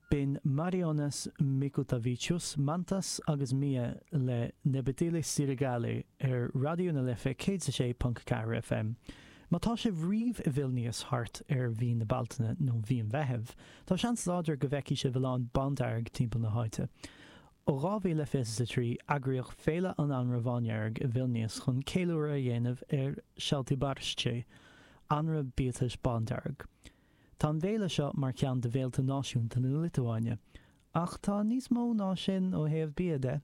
B'in Marijonas Mikutavičius, Mantas agus Mia le Nebetyli Sirgaliai ar Raidió na Life 106.4 FM. Má tá sibh riamh i Vilnius thart ar mhí na Bealtaine nó mhí an Mheithimh, tá seans láidir go bhfeicfidh sibh a lán bándearg timpeall na háite. Ó 2023, eagraíodh Féile an Anraith Bhándhearg i Vilnius chun ceiliúradh a dhéanamh ar šaltibarščiai, anraith biatais bándearg. Tá an bhféile seo mar cheann de bhféilte náisiúnta na Liotuáine. Ach tá níos mó ná sin ó thaobh bia de.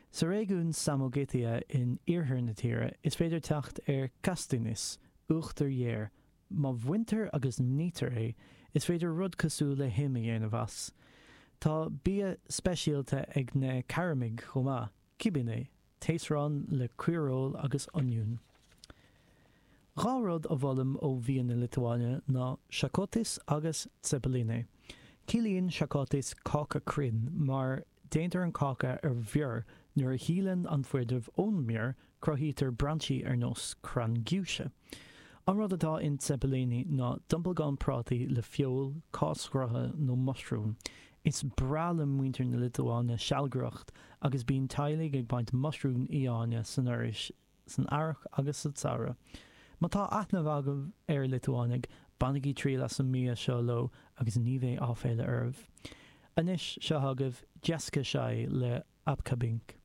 Sa réigiún Samogitia in iarthar na tíre, is féidir teacht ar kastinys, uachtar ghéar. Má bhaintear agus nitear é, is féidir rud cosúil le him a dhéanamh as. Tá bia speisialta ag na Caraimigh chomh maith, kibinai, taosrán le caoireoil agus oinniún. 2 rud a mholaim ó bhia na Liotuáine ná šakotis agus cepelinai. Ciallaíonn šakotis cáca cruinn mar déantar an cáca ar bhior, nuair a shíleann an fuinneamh ón mbior, cruthaítear brainsí ar nós crann giúise. An rud atá in cepelinai ná dompalgán prátaí le feoil, cáis ghrutha nó muisriúin. Is breá le muintir na Liotuáine sealgaireacht agus bíonn teaghlaigh ag baint muisriúin fhiáine san fhoraois san earrach agus sa tsamhradh. Má tá aithne agaibh ar Liotuánaigh, bainigí triail as an mbia seo leo agus ní bheidh áiféala oraibh. Anois, seo agaibh Jessica Shy le Apkabink.